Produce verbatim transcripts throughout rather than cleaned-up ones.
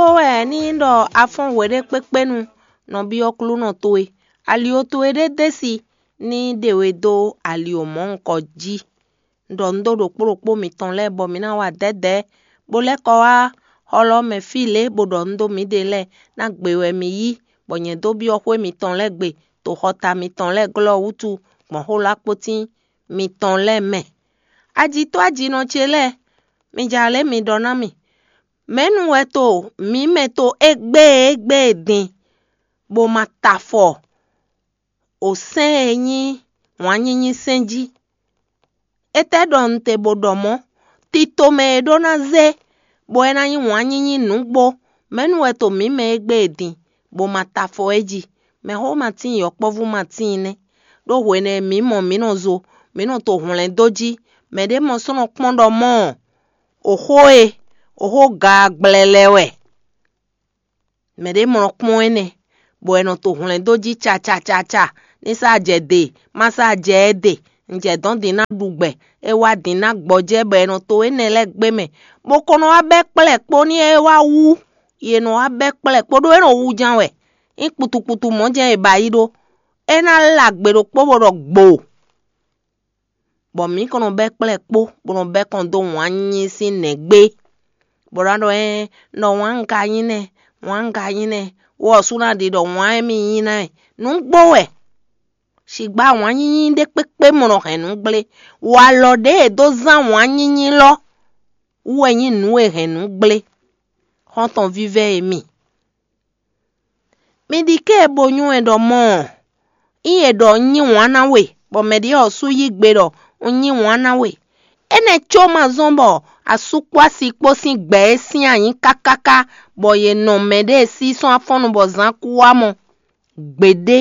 Ó wɛ ní ɖɔ a fɔ́n hweɖékpékpénu nɔ byɔ́ Aklúnɔ towe. Ali towe ɖé dó e si ní ɖe we dó ali mɔ̌hunkɔ jí. Un ɖɔ nǔ dó ɖokpó ɖokpó mitɔn lɛ́ɛ bɔ mi ná wa dɛ̌dɛ̌, bó lɛ́ kɔ wá xɔlɔ́ mɛ fí lě bó ɖɔ nǔ dó mǐɖée lɛ́ɛ ná gbe wɛ mi yí, bɔ nyɛ dó byɔ́ xwé mitɔn lɛ́ɛ gbe, to xɔta mitɔn lɛ́ɛ glɔ́ wútu gbɔn xó lɔ akpótín mitɔn lɛ́ɛ mɛ. Ajitɔ́ ajinɔ ce lɛ́ɛ, mi ja lě mi ɖɔ ná mì. Mɛ̌nu wɛ to mǐ mɛ to égbé e égbé e din, bó ma ta afɔ o sɛ́n e nyí wǎn nyínyí sɛ́n jí? Étɛ́ ɖɔ un te bó ɖɔ mɔ̌? Tito mɛ e ɖó ná zé, bɔ é ná nyí wǎn nyínyí nǔgbó. Mɛ̌nu wɛ to mǐ mɛ égbé e din, bó ma ta afɔ é jí? Mɛxó ma tíin yɔkpɔ́vú ma tíin nɛ́, ɖó hwenɛ́ e mǐ mɔ mǐ nɔ zo, mǐ nɔ to hwlɛ̌n dó jí. Mɛɖé mɔ sɔ́ nɔ kpɔ́n ɖɔ mɔ̌ ɔ́, oxó e oxó ga gblɛlɛ wɛ. Mɛɖé mɔ kpɔ́n énɛ́, bɔ è nɔ to hwlɛ̌n dó jí cacacaca, ní sá jɛ de, má sá jɛ ɛ de. Un jɛ dɔ̌n din ná ɖu gbɛ, é wá din ná gbɔjɛ́, bɔ è nɔ to énɛ́ lɛ́ɛ gbé mɛ, bó ko nɔ wá bɛ́ kplɛ́ kpó ní é wá wú. Yě nɔ wá bɛ́ kplɛ́ kpó ɖó é nɔ wú ján wɛ. Nyí kputukputu mɔ̌ jɛ́n è ba yí ɖó. É ná lá gbe ɖokpó bó ɖɔ gbo. Bɔ mǐ kɔn nɔ bɛ́ kplɛ́ kpó, bó nɔ bɛ́ kɔn dó wǎn nyínyí sín nɛ̌gbé, bó ná ɖɔ ɛ, ɖɔ wǎn un ka nyí nɛ́, wǎn un ka nyí nɛ́, wɔ sú ná ɖi ɖɔ wǎn émí nyí ná ɛ. Nǔgbó wɛ. Sigbá wǎn nyínyí ɖé kpékpé mɔ nɔ hɛn nǔ gblé. Walɔ ɖě e dó zán wǎn nyínyí lɔ wú wɛ nyí nǔ e hɛn nǔ gblé. Xɔ́ntɔn vívɛ́ e mi. Mi ɖi ké e bo nywɛ́ ɖɔ mɔ̌ ɔ́, nyí è ɖɔ un nyí wǎn ná we, bɔ mɛ ɖě ɔ́ sú yí gbe ɖɔ un nyí wǎn ná we. Énɛ́ có ma zɔ́n bɔ asú kpó asi kpó sín gbɛ é syɛ́n ayǐ kákáká, bɔ yě nɔ mɛɖée sí sɔ́ afɔ́nnu bɔ zǎn kú wá mɔ gbeɖé.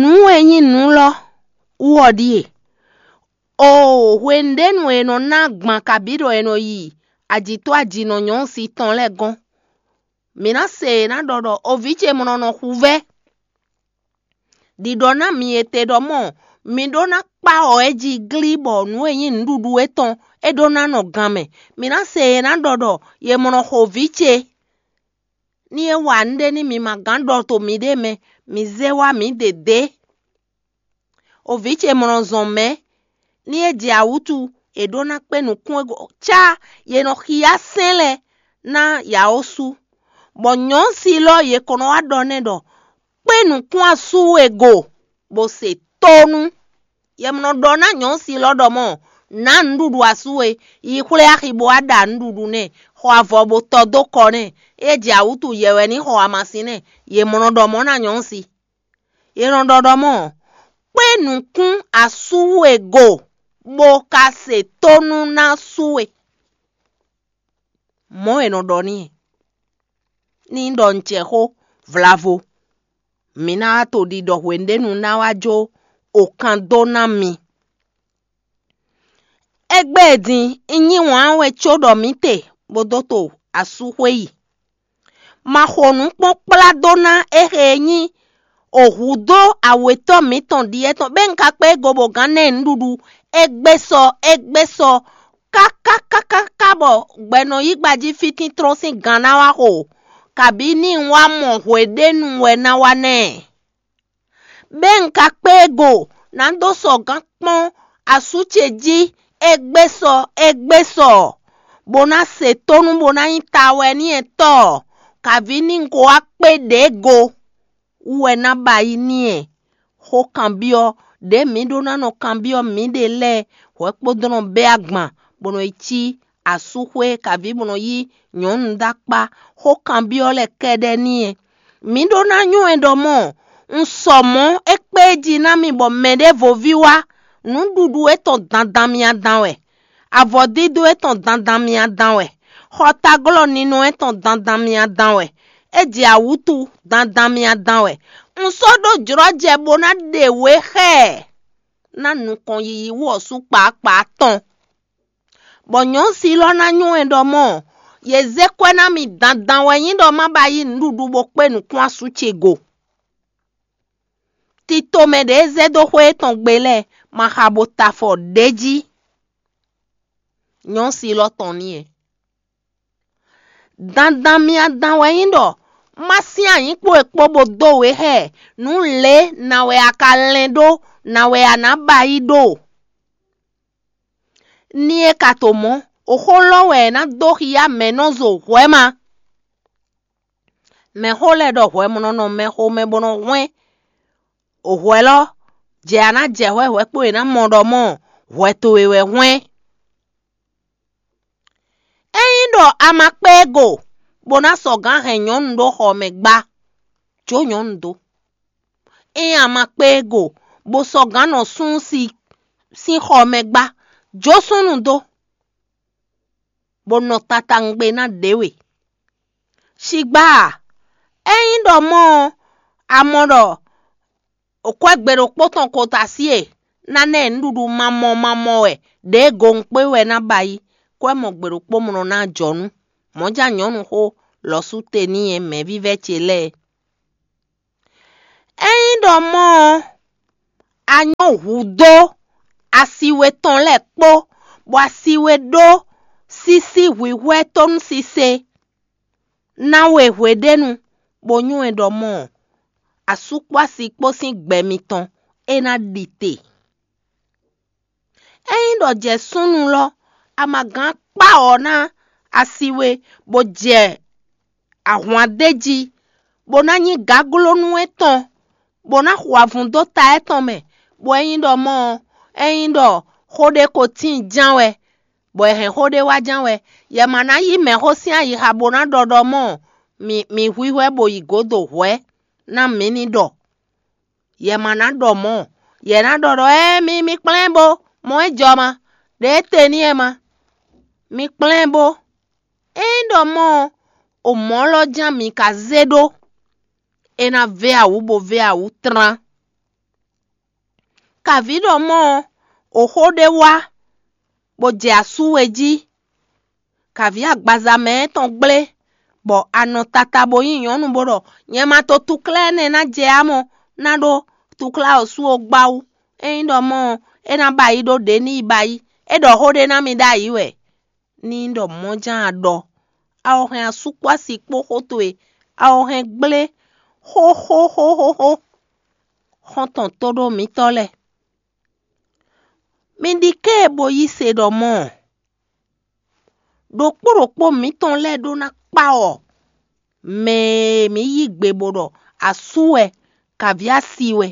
Nǔ e nyí nǔ lɔ wú ɔ́ ɖíe: Oo, hwenu ɖé nu è nɔ ná gban kabǐ ɖɔ è nɔ yi ajǐtɔ́ ajǐnɔ nyɔ̌nu si tɔn lɛ́ɛ gɔ́n. Mǐ ná se yě ná ɖɔ ɖɔ: O vǐ ce mlɔ nɔ xuvɛ́. Ɖiɖɔ ná mi e te ɖɔ mɔ̌, mi ɖó ná kpá ɔ̌ é jí glí bɔ nǔ e nyí nǔɖuɖu étɔn é ɖó ná nɔ gan mɛ. Mǐ ná se yě ná ɖɔ ɖɔ: Yě mlɔ xo vǐ ce. Ní é wa nǔɖé ní mi ma gán ɖɔ to miɖée mɛ, mi zé wá mǐ ɖě dě. O vǐ ce mlɔ zɔn mɛ̌, ní é jɛ awǔtu, è ɖó ná kpé nǔkún e có cá yě nɔ xyá sɛ́n lɛ́ɛ ná yǎ ó sú. Bɔ nyɔ̌si lɔ yě kɔn nɔ wá ɖɔ nɛ́ ɖɔ: Kpé nǔkún asú e go, bó se tónú. Yɛ mɔ nɔ ɖɔ ná nyɔ̌si lɔ ɖɔ mɔ̌: Nǎ nǔɖuɖu asú e, yi xwlé axi bó wá ɖa nǔɖuɖu nɛ́, xɔ avɔ bó tɔ dó kɔ nɛ́. É jɛ awǔtu yɛ wɛ ní xɔ amasin nɛ́. Yě mɔ nɔ ɖɔ mɔ̌ ná nyɔ̌si. Yě nɔ ɖɔ ɖɔ mɔ̌: Kpé nǔkún asú e go, bó ka se tónú ná sú we. Mɔ̌ è nɔ ɖɔ n'i. Ní ɖɔ un jɛ xó vlavo, mǐ ná wá to ɖiɖɔ hwenu ɖé nu ná wá jó okan dó ná mi. Égbé e din, un nyí wǎn wɛ có ɖɔ mǐ te, bó dó to asúxwé yi. Ma xo nǔ kpɔ́n kplá dó ná éxe e nyí ohu dó awětɔ́ mǐtɔn ɖíe tɔn, bɔ un ka kpé go bó gán ná ɛ nǔɖuɖu, égbé sɔ, égbé sɔ, kákákákáká bɔ gbɛ nɔ yí gbají fítíntrɔ́n sín gan ná wá xo, kabǐ ní un wá mɔ hweɖénu wɛ ná wá ná ɛ. Bɔ un ka kpé go ná dó sɔ gán kpɔ́n asú ce jí, égbé sɔ, égbé sɔ, bó ná se tónú bó ná nyí tawɛ ní ɛ tɔ́, kabǐ ní un ko wá kpé ɖě go wú wɛ ná ba yi n'i ɛ. Xó kanbyɔ́ ɖě mǐ ɖó ná nɔ kanbyɔ́ mǐɖée lɛ́ɛ hwɛ̌kpódó nɔ bɛ́ agban, bó nɔ yi cí asúxwé kabǐ bó nɔ yí nyɔ̌nu dó akpá, xó kanbyɔ́ lɛ́ɛ kɛ́ɖɛ́ n'i ɛ. Mǐ ɖó ná nywɛ́ ɖɔ mɔ̌, un sɔ mɔ̌ é kpé jí ná mi bɔ mɛɖěvoví wá, nǔɖuɖu étɔn dandan mì adan wɛ, avɔdídó étɔn dandan mì adan wɛ, xɔtaglɔ́ ninɔ étɔn dandan mì adan wɛ, é jɛ awǔtu dandan mì adan wɛ. Un sɔ́ ɖó jlɔ́jɛ bó ná ɖe wě xá ɛ ná nukɔn yiyi wú ɔ́ sú kpaaɖkpaaɖ tɔn. Bɔ nyɔ̌si lɔ ná nywɛ́ ɖɔ mɔ̌, yě zé kwɛ́ ná mì dandan wɛ nyí ɖɔ má ba yí nǔɖuɖu bó kpé nǔkún asú ce go. Tito mɛ ɖě e zɛ dó xwé étɔn gbe lɛ́ɛ ma xa bo ta afɔ ɖě jí. Nyɔ̌si lɔ tɔn ní ɛ. Dandan myá dán wɛ nyí ɖɔ má sín anyǐkpo e kpó bó dó we xá ɛ, nǔ lě na wɛ a ka lɛn ɖó, na wɛ a nǎ ba yí ɖó. Ní é ka to mɔ̌, oxó lɔ wɛ è nǎ dó xyá mɛ̌ nɔ zo hwɛ̌ ma. Mɛxó lɛ́ɛ ɖɔ hwɛ̌ mɔ nɔ nɔ mɛxomɛ bó nɔ hwɛ́n. Hwɛ̌ lɔ, jɛ a nǎ jɛ hwɛ̌ hwɛ̌ kpó è nǎ mɔ ɖɔ mɔ̌ hwɛ towe wɛ hwɛ́n. Ényí ɖɔ a ma kpé e go, bó ná sɔgǎn hɛn nyɔ̌nu ɖó xɔ mɛ gbá, jó nyɔ̌nu dó. Ényí a ma kpé e go, bó sɔgǎn nɔ súnnu sín xɔ mɛ gbá, jó súnnu dó, bó nɔ tatangbe ná ɖě we. Shigbá a, ényí ɖɔ mɔ̌ ɔ́, a mɔ ɖɔ kwɛ́ gbe ɖokpó tɔn kota sí e ná ná ɛ nǔɖuɖu mamɔ mamɔ wɛ ɖěe gowun kpé wɛ ná ba yi, kwɛ́ mɔ gbe ɖokpó mlɔ ná jɔ nú mɔ̌ján nyɔ̌nu xó lɔ̌ sú te n'i é mɛ̌vívɛ́ ce lɛ́ɛ. Ényí ɖɔ mɔ̌ ɔ́, a nyɔ́ hudó asi we tɔn lɛ́ɛ kpó, bɔ asi we ɖó sísí hwǐhwɛ́ tónúsise ná we hweɖénu, bó nywɛ́ ɖɔ mɔ̌ ɔ́, asú kpó asi kpó sín gbɛ mitɔn é ná ɖi te. Ényí ɖɔ jɛ súnnu lɔ, a ma gán kpá ɔ̌ ná asi we, bó jɛ ahwan d'é jí, bó ná nyí gaglónú étɔn, bó ná xo avun dó ta étɔn mɛ, bɔ ényí ɖɔ mɔ̌ ɔ́, ényí ɖɔ xó ɖé ko tíin ján wɛ, bɔ è hɛn xó ɖé wá ján wɛ, yɛ ma ná yí mɛ̌xó sín ayixa bó ná ɖɔ ɖɔ mɔ̌ mǐ mǐ hwíhwɛ́ bó yi gǒdo hwɛ̌ ná mǐ ní ɖɔ. Yɛ ma ná ɖɔ mɔ̌, yɛ ná ɖɔ ɖɔ ée mi mi kplɛ́n bó, mɔ̌ é jɔ ma, ɖě é te n'i é ma. Mi kplɛ́n bó. Ényí ɖɔ mɔ̌ ɔ́, o mɔ̌ lɔ ján mi ka zé ɖó, é ná vɛ́ awǔ bó vɛ́ awǔ tlán. Kavǐ ɖɔ mɔ̌ ɔ́, o xó ɖé wá, bó jɛ asú we jí. Kavǐ agbaza mɛ tɔn gblé, bɔ a nɔ tata bó nyí nyɔ̌nu bó ɖɔ: "Nyɛ ma to túklɛ́ énɛ́ ná jɛ ǎ mɔ, ná ɖó túklá ɔ́ sú ó gbá wú. Ényí ɖɔ mɔ̌ ɔ́, é ná ba yi ɖó ɖě ní yi ba yi. É ɖɔ xó ɖé ná mi ɖ'ayǐ wɛ." Ní ɖɔ mɔ̌ ján a ɖɔ, a wɔ hɛn asú kpó asi kpó xó towe, a wɔ hɛn gblé xóxóxóxóxó. Xɔ́ntɔn tóɖó mǐtɔn lɛ́ɛ, mi ɖi ké e bo yí se ɖɔ mɔ̌ ɔ́, ɖokpó ɖokpó mǐtɔn lɛ́ɛ ɖó ná kpá ɔ mɛ e mǐ yí gbe bó ɖɔ asú wɛ, kavǐ asi wɛ.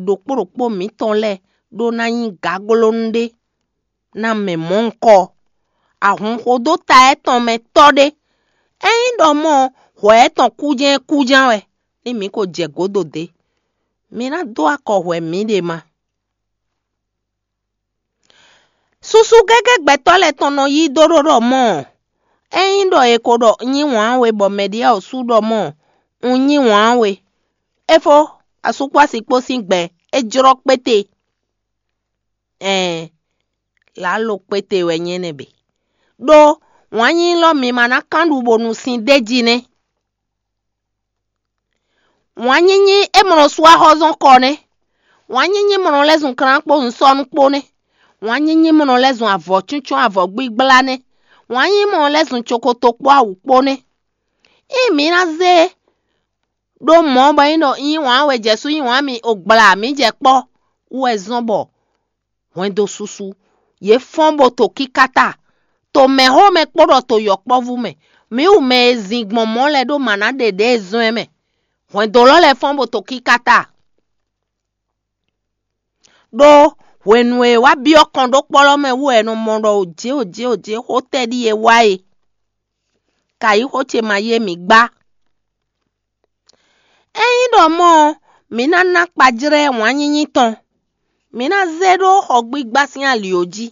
Ɖokpó ɖokpó mǐtɔn lɛ́ɛ ɖó ná nyí gaglónú ɖé ná mɛ mɔ̌hunkɔ, ahun xodó ta étɔn mɛ tɔ́ ɖé. Ényí ɖɔ mɔ̌ ɔ́, hwɛ étɔn kújɛ́n kúján wɛ, ní mǐ ko jɛ gǒdo dě. Mi ná dó akɔ hwɛ mǐɖée ma. Susu gégé gbɛtɔ́ lɛ́ɛ tɔn nɔ yí dó ɖó ɖɔ mɔ̌ ɔ́, ényí ɖɔ è ko ɖɔ un nyí wǎn we bɔ mɛ ɖě ɔ́ sú ɖɔ mɔ̌ ɔ́, un nyí wǎn we. É fó, asú kpó asi kpó sín gbɛ, é jlɔ́ kpéte. Ɛɛn, lǎlo kpéte wɛ nyí énɛ́ bǐ. Ɖó wǎn nyínyí lɔ mi ma ná kán ɖu bónú sin d'é jí nɛ́. Wǎn nyínyí é mlɔ sú axɔ́zɔ́n kɔ nɛ́. Wǎn nyínyí mlɔ lɛ́ zun klán kpó nǔsɔ́nú kpó nɛ́. Wǎn nyínyí mlɔ lɛ́ zun avɔ̌cúncún avɔ̌gbígbla nɛ́. Wǎn nyínyí mlɔ lɛ́ zun cokoto kpó awu kpó nɛ́. Ényí mǐ ná zé ɖó mɔ̌ bɔ é nyí ɖɔ nyí wǎn wɛ jɛ sú nyí wǎn mi o gbla mǐ jɛ kpɔ́ wú wɛ zɔ́n bɔ hwɛndo susu, yě fɔ́n bó to kíkáta, to mɛ̌xomɛ kpó ɖɔ to yɔkpɔ́vú mɛ. Mǐ wu mɛ e zin gbɔn mɔ̌ lɛ́ɛ ɖó mǎ ná ɖe ɖě e zɔ́n ɛ mɛ. Hwɛndo lɔ lɛ́ɛ fɔ́n bó to kíkáta. Ɖó hwenu e é wá byɔ́ kɔn ɖó kpɔ́ lɔ mɛ wú wɛ è nɔ mɔ ɖɔ òjé òjé òjé xó tɛ́ ɖíe wá e. Kayixo ce ma yé mǐ gbá. Ényí ɖɔ mɔ̌ ɔ́, mǐ ná ná kpajlɛ́ wǎn nyínyí tɔn; mǐ ná zé ɖó xɔgbígbá sín ali ɔ́ jí.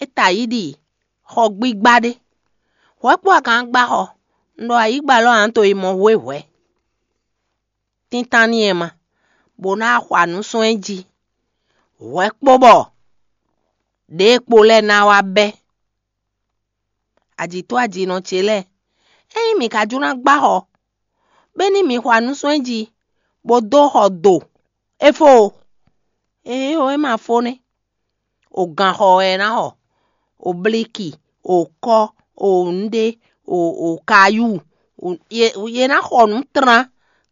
É ta yí ɖi xɔgbígbá ɖé. Hwɛ̌ kpó a ka ná gbá xɔ? Un ɖɔ ayǐ gba lɔ ǎ to yi mɔ hwéhwɛ̌. Tíntan n'i ɛ ma, bó ná xwa nǔ sɔ́ ɛ jí. Hwɛ̌ kpó bɔ ɖěe kpo lɛ́ɛ ná wá bɛ́. Ajǐtɔ́ ajinɔ ce lɛ́ɛ, ényí mǐ ka jló ná gbá xɔ, bɔ é ní mǐ xwa nǔ sɔ́ ɛ jí, bó dó xɔ do, é fó o. Éeǒ, é ma fó nɛ́. O gan xɔ wɛ é ná xɔ, o bliki, o kɔ́, o nǔɖé, o o kayú, o ye ye ná xɔ nǔ tlán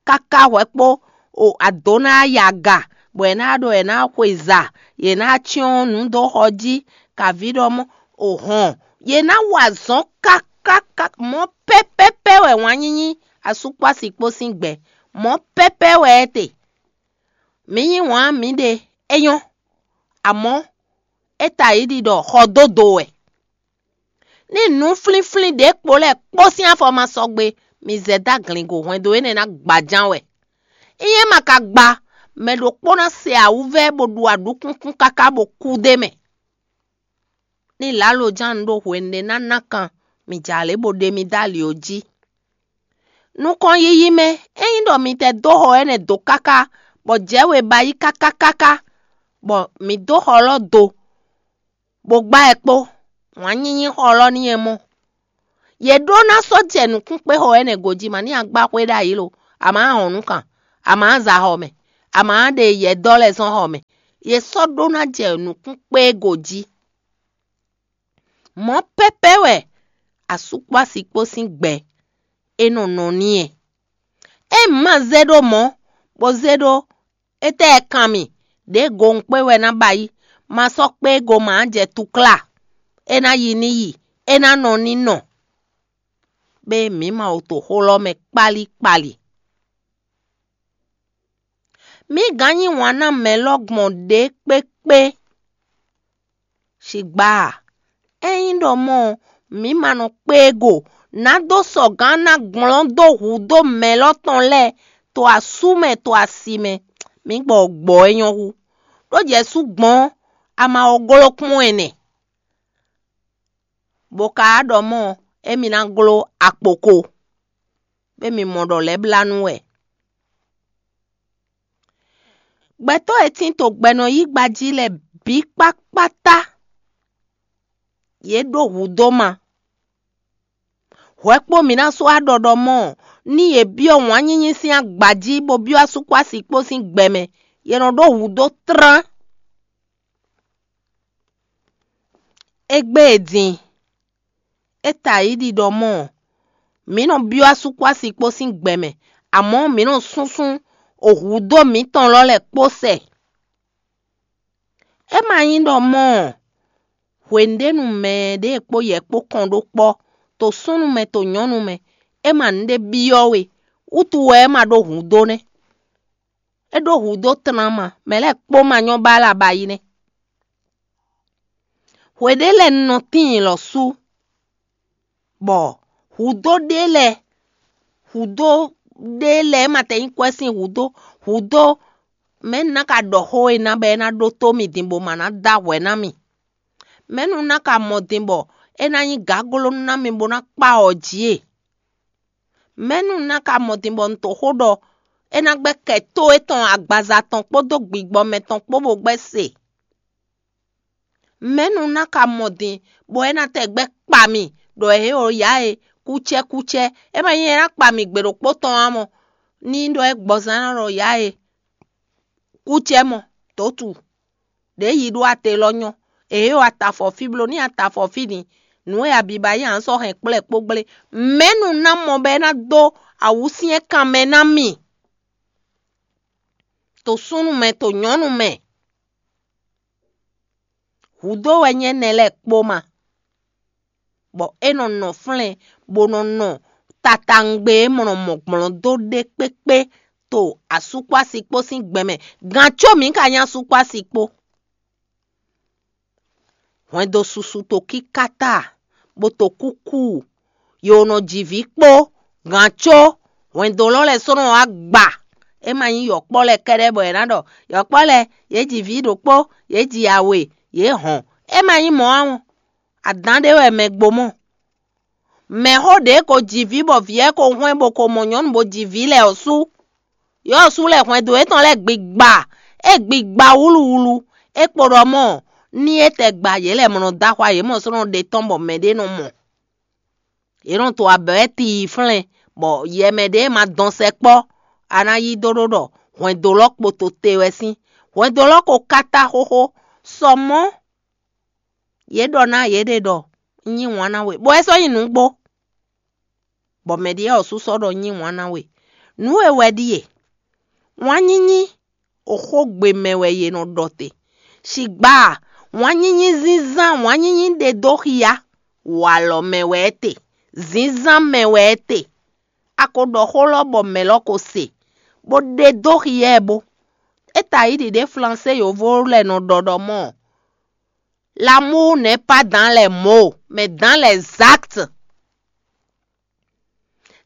káká hwɛ kpó o adǒ ná yi aga, bɔ è nǎ ɖɔ è nǎ xweza, yě ná cyɔ́n nǔ dó xɔ jí, kaví ɖɔ mɔ́, o hɔn, yě ná wa azɔ̌ kákáká. Mɔ̌ pɛ́pɛ́pɛ́ wɛ wǎn nyínyí asúkpási kpó sín gbɛ. Mɔ̌ pɛ́pɛ́ wɛ é te. Mǐ yí wǎn mǐɖée, é nyɔ́, amɔ̌ é ta yi ɖi ɖɔ xɔ dó do wɛ. Ní nǔ flínflín ɖě kpo lɛ́ɛ kpó sín afɔ ma sɔgbe, mi zɛ dó aglingo hwɛndo énɛ́ ná gbaján wɛ. Ényí é ma ka gba, mɛ ɖokpó ná se awǔvɛ́ bó ɖu aɖǔkúnkún káká bó kú d'é mɛ. Ní lǎloján ɖó hwenu ɖé ná ná kan, mi jɛ alě bó ɖe mi dó ali ɔ́ jí. Nukɔn yiyi mɛ, ényí ɖɔ mi tɛ dó xɔ énɛ́ dó káká, bɔ jɛ̌ we ba yí káká káká, bɔ mǐ dó xɔ lɔ́ do, bó gbá ɛ kpó, wǎn nyínyí xɔ lɔ́ n'i ɛ mɔ. Yě ɖó ná sɔ́ jɛ nǔkún kpé xɔ énɛ́ gǒ jí ma ní agbá xwé ɖ'ayǐ lo, a ma hɔn nǔ kan, a ma za xɔ mɛ, a ma ɖe yɛ̌dɔ́ lɛ́ɛ zɔ́n xɔ mɛ. Yě sɔ́ ɖó ná jɛ nǔkún kpé gǒ jí. Mɔ̌ pɛ́pɛ́ wɛ asúkpási kpó sín gbɛ é nɔ nɔ n'i ɛ. É ma zé ɖó mɔ̌, bó zé ɖó étɛ́ ɛ kan mì, ɖěe gonkpé wɛ ná ba yí, ma sɔ́ kpé go ma jɛ tukla, é ná yi ní yi, é ná nɔ ní nɔ. Bɛ́ mǐ ma wo to xó lɔ́ mɛ kpálí kpali. Mǐ gǎn yí wǎn ná mɛ lɔ́ gbɔn ɖě kpékpé. Shigba a, ényí ɖɔ mɔ̌ ɔ́, mǐ ma nɔ kpé e go, nǎ dó sɔgǎn ná gblɔ́n dó hǔ dó mɛ lɔ́ tɔn lɛ́ɛ to asú mɛ to asi mɛ, mǐ gbɔ gbɔ̌ é nyɔ́ hú. Ɖó jɛ̌ sú gbɔn ɔ́, a ma wɔ gló kpɔ́n ɛnɛ, bó ka ɖɔ mɔ̌ ɔ́, émí ná gló akpoko, bɔ émí mɔ ɖɔ lɛ̌ blá nú wɛ. Gbɛtɔ́ e tín to gbɛnɔyígba jí lɛ́ɛ bǐ kpákpátá, yě ɖó hǔ dó ma. Hwɛ kpó mǐ ná sú aɖɔɖɔ mɔ, ní yě byɔ́ wǎn nyínyí sín agba jí, bó byɔ́ asúkpási kpó sín gbɛ mɛ, yě nɔ ɖó hǔ dó tlán. Égbé e din, é ta yi ɖi ɖɔ mɔ̌, mǐ nɔ byɔ́ asúkpási kpó sín gbɛ mɛ, amɔ̌ mǐ nɔ súnsún hǔdó mǐtɔn lɔ lɛ́ɛ kpó sɛ. É ma nyí ɖɔ mɔ̌ hwěnu ɖé nu mɛ ɖě kpó yɛ kpó kɔn ɖó kpɔ́, to súnnu mɛ to nyɔ̌nu mɛ, é ma nǔɖé byɔ́ we, wútu wɛ é ma ɖó hǔdó nɛ́. É ɖó hǔdó tlán ma, mɛ lɛ́ɛ kpó ma nyɔ́ ba lɛ abayi nɛ́. Hwe ɖé lɛ́ɛ un nɔ tíin lɔ̌ sú, bɔ hǔdó ɖé lɛ́ɛ, hǔdó ɖé lɛ́ɛ ma tɛ nyí kwɛ́ sín hǔdó, hǔdó mɛ̌ un ná ka ɖɔ xó e ná bɔ é ná ɖótó mì din bó ma ná dó ahwɛ ná mì? Mɛ̌ nu un ná ka mɔ din bɔ é ná nyí gǎglónú ná mì bó ná kpá awɔ jí e? Mɛ̌ nu un ná ka mɔ din bɔ un to xó ɖɔ é ná gbɛ́ kɛ tó étɔn agbaza tɔn kpódó gbigbɔ mɛ tɔn kpó bó gbɛ́ se? Mɛ̌ nu un ná ka mɔ din bɔ é ná tɛ gbɛ́ kpa mì ɖɔ ě o yǎ e kúcɛ́kúcɛ́? É ma nyí é ná kpa mì gbe ɖokpó tɔn ǎ mɔ, ní ɖɔ é gbɔzán ná ɖɔ yǎ e kúcɛ́ mɔ dǒtu ɖě yi ɖó ate lɔ nyɔ́. Ě o atafɔ fí bló ní atafɔ fí din, nǔ e abiba yí ǎ sɔ́ hɛn kplɛ́ kpó gblé. Mɛ̌ nu ná mɔ bɔ é ná dó awǔsyɛ́n kan mɛ ná mì, to súnnu mɛ to nyɔ̌nu mɛ? Hǔdó wɛ nyí énɛ́ lɛ́ɛ kpó ma, bɔ é nɔ nɔ flɛ́n bó nɔ nɔ tatangbe e mɔ nɔ mɔ gblɔn dó ɖé kpékpé to asúkpási kpó sín gbɛ mɛ. Gǎn có mǐ ka nyí asúkpási kpó. Hwɛndo susu to kíkáta, bó to kúkú, yo nɔ ji vǐ kpó, gǎn có hwɛndo lɔ lɛ́ɛ sɔ́ nɔ wá gba. É ma nyí yɔ̌kpɔ́ lɛ́ɛ kɛ́ɖɛ́ bɔ è nǎ ɖɔ yɔ̌kpɔ́ lɛ́ɛ yě ji vǐ ɖokpó, yě ji awe, yě hɔn. É ma nyí mɔ̌ ǎ mɔ. Adǎn ɖé wɛ mɛ gbo mɔ. Mɛ̌xó ɖě ko ji vǐ bɔ vǐ ɔ́ ko hwɛ́n bó ko mɔ nyɔ̌nu bó ji vǐ lɛ́ɛ ɔ́ sú. Yɔ̌ ɔ́ sú lɛ́ hwɛndo yětɔn lɛ́ɛ gbigba, é gbigba wúluwulu. É kpo ɖɔ mɔ̌, ní é tɛ gba yě lɛ́ɛ mɔ nɔ dó axwa yě mɔ sɔ́ nɔ ɖe tɔ́n bɔ mɛɖé nɔ mɔ. Yě nɔ to abɛ̌ wɛ tii flɛ́n, bɔ yɛ mɛ ɖě ma dɔn sɛkpɔ́, a ná yí dó ɖó ɖɔ hwɛndo lɔ kpo to te wɛ sín. Hwɛndo lɔ ko káta xóxó, sɔ mɔ̌. Yě ɖɔ ná yěɖée ɖɔ: "Un yí wǎn ná we, bɔ é sɔ́ nyí nǔgbó." bɔ mɛ ɖě ɔ́ sú sɔ́ ɖɔ nyí wǎn ná we. Nǔ e wɛ ɖíe: wǎn nyínyí, oxógbe mɛ wɛ yě nɔ ɖɔ te. Sigba, wǎn nyínyí zínzán, wǎn nyínyí ɖe dó xia, walɔ mɛ wɛ é te, zínzán mɛ wɛ é te. A ko ɖɔ xó lɔ bɔ mɛ lɔ ko se, bó ɖe dó xia ɛ bó. É ta yi ɖiɖe flansé yovo lɛ́ɛ nɔ ɖɔ ɖɔ mɔ́: l'amour n'est pas dans les mots, mais dans les actes.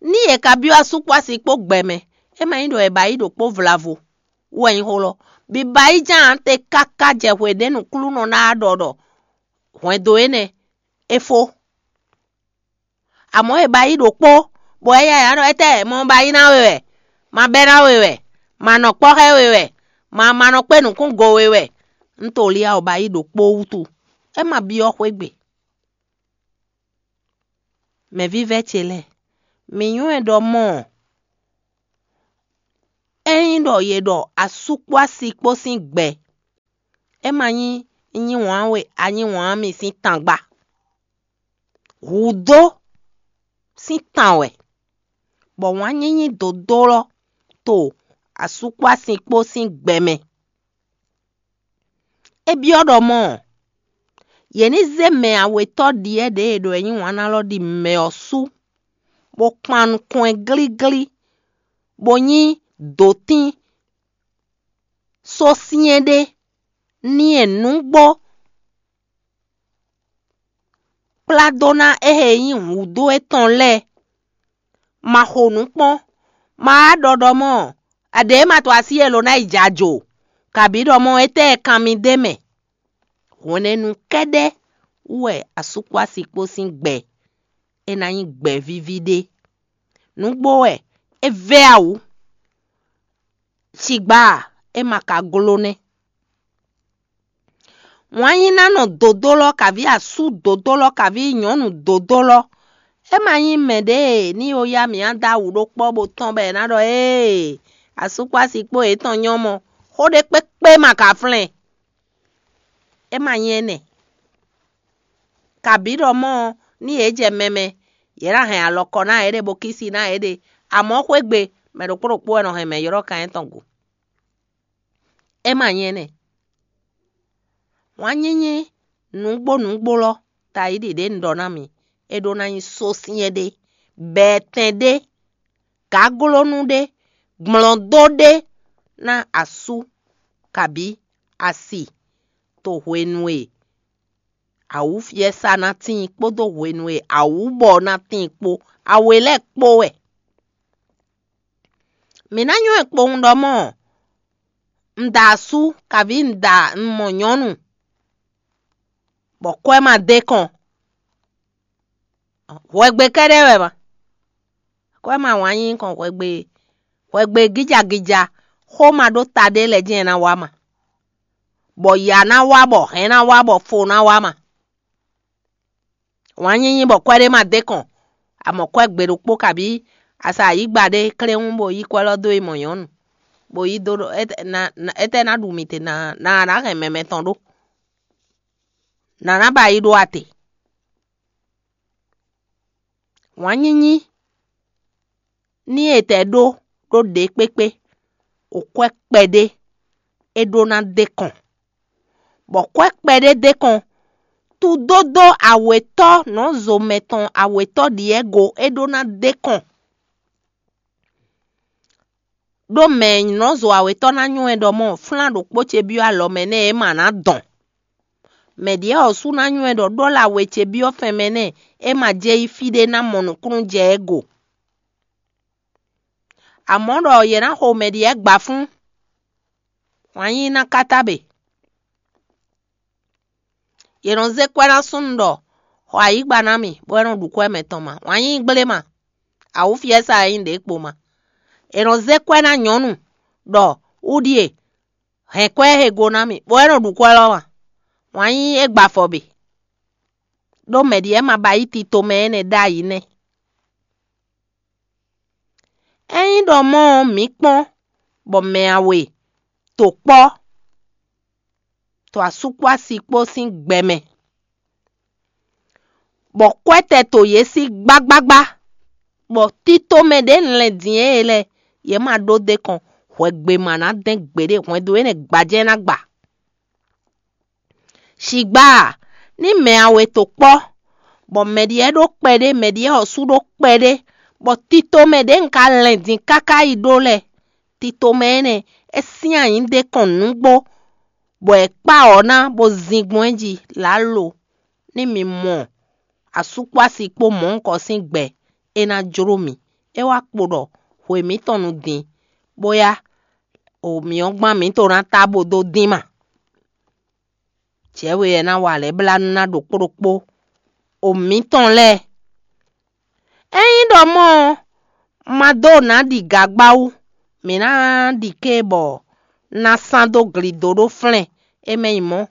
Ní yě ka byɔ́ asú kpó asi kpó gbɛ mɛ, é ma nyí ɖɔ è ba yí ɖokpó vlavo wú wɛ nyí xó lɔ. Biba yi ján te káká jɛ hwe ɖě nǔklúnɔ ná ɖɔ ɖɔ hwɛndo énɛ́ é fó. Amɔ̌ è ba yí ɖokpó, bɔ é yá yǎ ɖɔ: étɛ́ mɔ ba yí ná we wɛ, ma bɛ́ ná we wɛ, ma nɔ kpɔ́ xá we wɛ, ma ma nɔ kpé nǔkún go we wɛ. Un to li a ɔ́ ba yí ɖokpó wútu, é ma byɔ́ xwé gbe. Mɛ vívɛ́ ce lɛ́ɛ, mǐ nywɛ́ ɖɔ mɔ́ ɔ́, ényí ɖɔ yě ɖɔ asú kpó asi kpó sín gbɛ, é ma nyí nyí wǎn we a nyí wǎn mi sín tangba. Hǔdó sín tan wɛ, bɔ wǎn nyínyí dǒdó lɔ to asú kpó asi kpó sín gbɛ mɛ. É byɔ́ ɖɔ mɔ́ ɔ́, yě ní zé mɛ awětɔ́ ɖyɛ̌ ɖě e ɖo e nyí wǎn ná lɔ ɖi mɛ ɔ́ sú, bó kpan nukɔn ɛ glíglí, bó nyí dǒtín sósyɛ́n ɖé n'i e nǔgbó kplá dó ná ée nyí hǔdó étɔn lɛ́ɛ. Ma xo nǔ kpɔ́n, ma wá ɖɔ ɖɔ mɔ́ aɖě ma to así e lo ná yi jɛ ajo, kabǐ ɖɔ mɔ́ étɛ́ e kan mi d'é mɛ. Hwɛ̌nɛnu kɛ́ɖɛ́ wú wɛ asú kpó asi kpó sín gbɛ é ná nyí gbɛ̌ víví ɖé. Nǔgbó wɛ é vɛ́ awǔ, cigba a, é ma ka gló nɛ́. Wǎn nyí ná nɔ dǒdó lɔ kaví asú dǒdó lɔ kaví nyɔ̌nu dǒdó lɔ. É ma nyí mɛ ɖě e ní yó yá mǐ á dó awu ɖó kpɔ́ bó tɔ́n bɔ è nǎ ɖɔ: ee, asú kpó asi kpó yětɔn nyɔ́ mɔ, xó ɖé kpékpé ma ka flɛ́n. É ma nyí énɛ́. Kabǐ ɖɔ mɔ́ ɔ́, ní yě jɛ mɛ mɛ, yě ná hɛn alɔkɔ ná yěɖée bó kísi ná yěɖée. Amɔ̌ xwé gbe, mɛ ɖokpó ɖokpó wɛ nɔ hɛn mɛ ylɔ́ kan étɔn go. É ma nyí énɛ́. Wǎn nyínyí nǔgbó nǔgbó lɔ, tayi ɖě un ɖɔ ná mi, é ɖó ná nyí sósyɛ́n ɖé, bɛɛtɛn ɖé, gǎglónú ɖé, gblɔndó ɖé ná asú kabǐ asi to hwenu e awǔfiɛ́sa ná tíin kpódó hwenu e awǔbɔ ná tíin kpó, awe lɛ́ɛ kpó wɛ. Mǐ ná nywɛ́ kpowun ɖɔ mɔ́ un da asú, kabǐ un da un mɔ nyɔ̌nu, bɔ kwɛ́ ma d'é kɔn. Hwɛgbe kɛ́ɖɛ́ wɛ ma. Kwɛ́ ma wǎn nyí kɔn hwɛgbe, hwɛgbe gíjagíja, xó ma ɖó ta ɖé lɛ́ɛ jɛ́n ná wá ma, bɔ yǎ ná wá, bɔ hɛ̌n ná wá, bɔ fo ná wá ma. Wǎn nyínyí bɔ kwɛ́ ɖé ma d'é kɔn, amɔ̌ kwɛ́ gbe ɖokpó kabǐ asa ayǐgba ɖé kléwún bó yí kwɛ́ lɔ dó yi mɔ nyɔ̌nu, bó yí dó ɖɔ: étɛ́ ná ɖu mì te, nǎ ná hɛn mɛ mɛtɔn ɖó, nǎ ná ba yi ɖó ate. Wǎn nyínyí ní e tɛ ɖó ɖó ɖě kpékpé, o kwɛ́ kpɛɖé é ɖó ná d'é kɔn, bɔ kwɛ́ kpɛɖé d'é kɔn, tudódó awětɔ́ nɔ̌zo mɛ tɔn awětɔ́ ɖyɛ̌go é ɖó ná d'é kɔn. Ɖó mɛ nɔ̌zo awětɔ́ ná nywɛ́ ɖɔ mɔ́ flán ɖokpó ce byɔ́ alɔ mɛ nɛ́ é ma ná dɔn. Mɛ ɖyɛ̌ ɔ́ sú ná nywɛ́ ɖɔ ɖɔ́la we ce byɔ́ fɛnmɛ nɛ́ é ma jɛ yi fí ɖé ná mɔ nǔkúnnú jɛ ɛ go. Amɔ̌ ɖɔ yě ná xo mɛ ɖyɛ̌ gba fún, wǎn yíyí ná káta bě. Yě nɔ zé kwɛ́ ná súnnu ɖɔ: xɔ ayǐgba ná mì, bɔ é nɔ ɖu kwɛ́ mɛtɔn ma, wǎn yíyí gblé ma, awǔfiɛ́sa e nyí ɖě kpo ma. È nɔ zé kwɛ́ ná nyɔ̌nu ɖɔ: wú ɖíe, hɛn kwɛ́ he go ná mì, bɔ é nɔ ɖu kwɛ́ lɔ ma, wǎn yíyí é gba afɔ bě. Ɖó mɛ ɖyɛ̌ ma ba yí tito mɛ énɛ́ ɖ'ayǐ nɛ́. Ényí ɖɔ mɔ́ ɔ́, mǐ kpɔ́n bɔ mɛ awe to kpɔ́, to asú kpó asi kpó sín gbɛ mɛ, bɔ kwɛ́ tɛ to yě sí gbágbágbá, Bɔ tito mɛ ɖě un lɛn din é lɛ́ɛ, yě ma ɖó d'é kɔn hwɛgbe ma ná dɛn gbeɖé hwɛndo énɛ́ gbajɛ ná gba. Shǐgbá a, ní mɛ a we to kpɔ́, bɔ mɛ ɖyɔ́ ɖó kpɛɖé, mɛ ɖyɔ́ ɔ́ sú ɖó kpɛɖé, bɔ tito mɛ ɖě un ka lɛn din káká yi ɖó lɛ́ɛ, tito mɛ énɛ́ é sín anyǐ ɖé kɔn nǔgbó, bɔ è kpá ɔ̌ ná bó zin gbɔn é jí lǎlo, ní mi mɔ asú kpó asi kpó mɔ̌hunkɔ sín gbɛ, é ná jló mì. É wá kpo ɖɔ hwe mǐtɔn nu din, bóyá o mǐ ɔ́ gban mǐ to ná tá bó dó dín ma. Jɛ̌we ɛ ná wa lɛ̌ blá nú ná ɖokpó ɖokpó o mǐtɔn lɛ́ɛ. Ényí ɖɔ mɔ̌ ɔ́, ma dó nǎ ɖi gagbá wú, mǐ ná ɖi ké bɔ ná sán dó glido ɖó flɛ́n é mɛ nyi mɔ̌,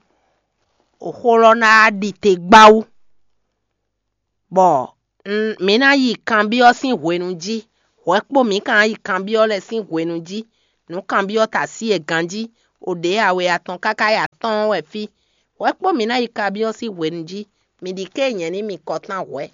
xó lɔ ná ɖi te gbá wú. Bɔ mǐ ná yi kanbyɔ́ sín hwenu jí, hwɛ kpó mǐ ka ná yi kanbyɔ́ lɛ́ɛ sín hwenu jí. Nǔ kanbyɔ́ ta sí e ganjí, o ɖě a we atɔn káká yi atɔ́ɔ́n wɛ fí. Hwɛ kpó mǐ ná yi kanbyɔ́ sín hwenu jí, mǐ ɖi ké nyɛ̌ ní mi kɔtán hwɛ̌.